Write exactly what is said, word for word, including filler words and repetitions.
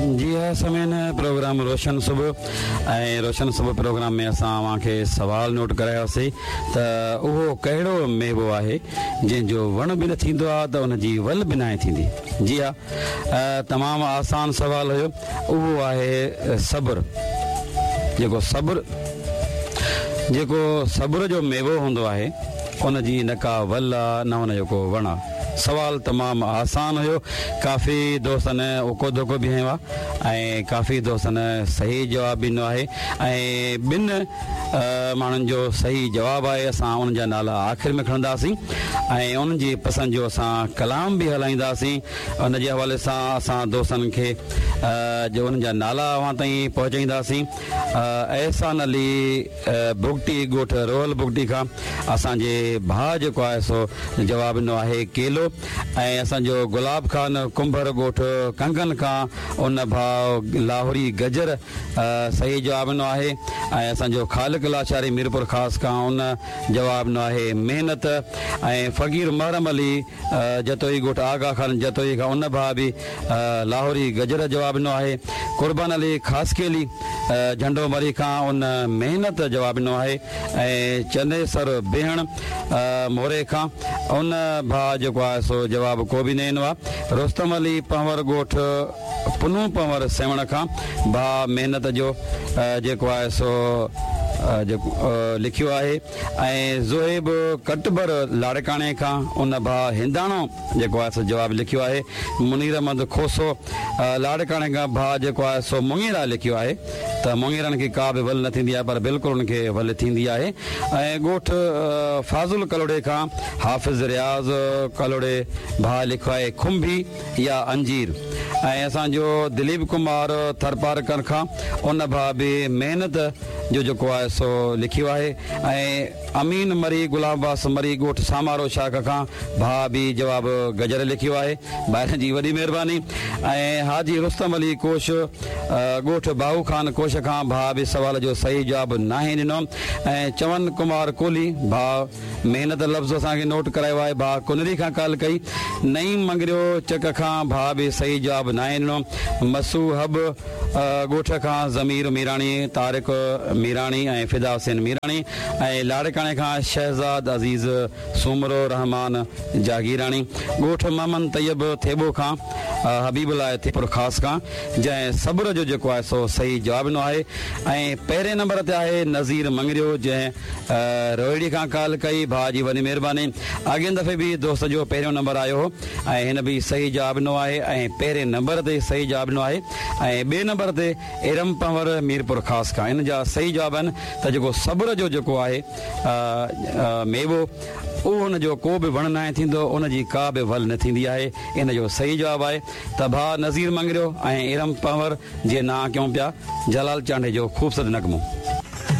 جي ها سامعين، پروگرام روشن صبح ۽ روشن صبح پروگرام ۾ اسان اوهان کي سوال نوٽ ڪرايوسي ته اهو ڪهڙو ميوو آهي جنهن جو وڻ به نه ٿيندو آهي ته ان جي ول به ناهي ٿيندي؟ جي ها، تمام آسان سوال هيو. اهو آهي صبر. جيڪو صبر جيڪو صبر جو ميوو هوندو آهي ان جي نه ڪا ول آ نه ان جو ڪو وڻ آ. سوال تمام آسان هيو، ڪافي دوستن اوڪو ڌوڪو به هنيو آ ۽ ڪافي دوستن صحيح جواب به ڏنو آهي ۽ ٻن ماڻهن جو صحيح جواب آهي. اسان انهن جا نالا آخر ۾ کڻنداسين ۽ انهن جي پسند جو اسان ڪلام به هلائينداسين. ان جي حوالي سان اسان دوستن کي جو انهن جا نالا اوهان تائين پهچائينداسين. احسان علي بگٽي ڳوٺ روحل بگٽي کان اسان جي ڀاء جيڪو آهي سو جواب ڏنو آهي ڪيلو، ۽ اسان جو گلاب خان ڪنڀر ڳوٺ ڪنگن کان ان ڀاء لاهوري گجر صحيح جواب ڏنو آهي، ۽ اسان جو خالق لاشاري ميرپور خاص کان ان جواب ڏنو آهي محنت، ۽ فقير محرم علي جتوئي ڳوٺ آغا خان جتوئي کان ان ڀاء به لاهوري گجر جواب ڏنو آهي. قربان علي خاصخيلي جهنڊو مري کان ان محنت جواب ڏنو آهي، ۽ چنيسر بيهڻ موري کان ان ڀاء جيڪو آهي سو جواب ڪو به نه ڏنو آهي. رستم علي پنهور ڳوٺ پنو پنهور سيوهڻ کان ڀاء محنت جو جيڪو آهي سو جيڪو لکيو آهي، ۽ زوهيب ڪٽبر لاڙڪاڻي کان ان ڀاء هنداڻو جيڪو آهي سو جواب لکيو آهي. منير احمد کوسو لاڙڪاڻي کان ڀاء جيڪو آهي سو مڱيرا لکيو آهي ته مڱيرن کي ڪا به ول نه ٿيندي آهي، پر بلڪل ان کي ول ٿيندي آهي. ۽ ڳوٺ فاضل ڪلهوڙي کان حافظ رياض ڪلهوڙي ڀاء لکيو آهي کنڀي يا انجير، ۽ اسان جو دليپ ڪمار ٿرپارڪر کان ان ڀاء به محنت جو جيڪو آهي سو لکيو آهي، ۽ امين مري غلام عباس مري ڳوٺ سامارو شاخ کان ڀاء به جواب گجر لکيو آهي. ڀائرن جي وڏي مهرباني. ۽ حاجي رستم علي ڪوش ڳوٺ باهو خان ڪوش کان ڀاء به سوال جو صحيح جواب ناهي ڏنو، ۽ چون ڪمار ڪولهي ڀاء محنت لفظ اسان کي نوٽ ڪرايو آهي، ڀاء ڪنري کان ڪال ڪئي. نعيم مڱريو چڪ کان ڀاء به صحيح جواب ناهي ڏنو. مسو حب ڳوٺ کان ضمير ميراڻي، طارق ميراڻي ۽ فدا حسين ميراڻي، ۽ لاڙڪاڻي کان شهزاد عزيز سومرو، رحمان جاگيراڻي، ڳوٺ محمد طيب ٿيٻو کان حبيب الله ٿيپور خاص کان، جنهن صبر جو جيڪو آهي سو صحيح جواب ڏنو آهي. ۽ پهرين نمبر تي آهي نذير مڱريو جنهن روهڙي کان ڪال ڪئي. ڀاء جي وڏي مهرباني. اڳين دفعي به دوست جو پهريون نمبر آيو هو ۽ هن به صحيح جواب ڏنو آهي ۽ پهرين نمبر تي صحيح جواب ڏنو آهي. ۽ ٻئي نمبر تي ارم پنهور ميرپور خاص کان ان جا صحيح جواب آهن ته جيڪو صبر جو جيڪو آهي ميوو اهو ان جو ڪو به وڻ ناهي ٿيندو، ان جي ڪا به ول نه ٿيندي آهي. ان جو صحيح جواب آهي ته ڀاء نذير مڱريو ۽ ارم پنهور جي نانء ڪيون پيا جلال چانڊيي جو خوبصورت نغمو.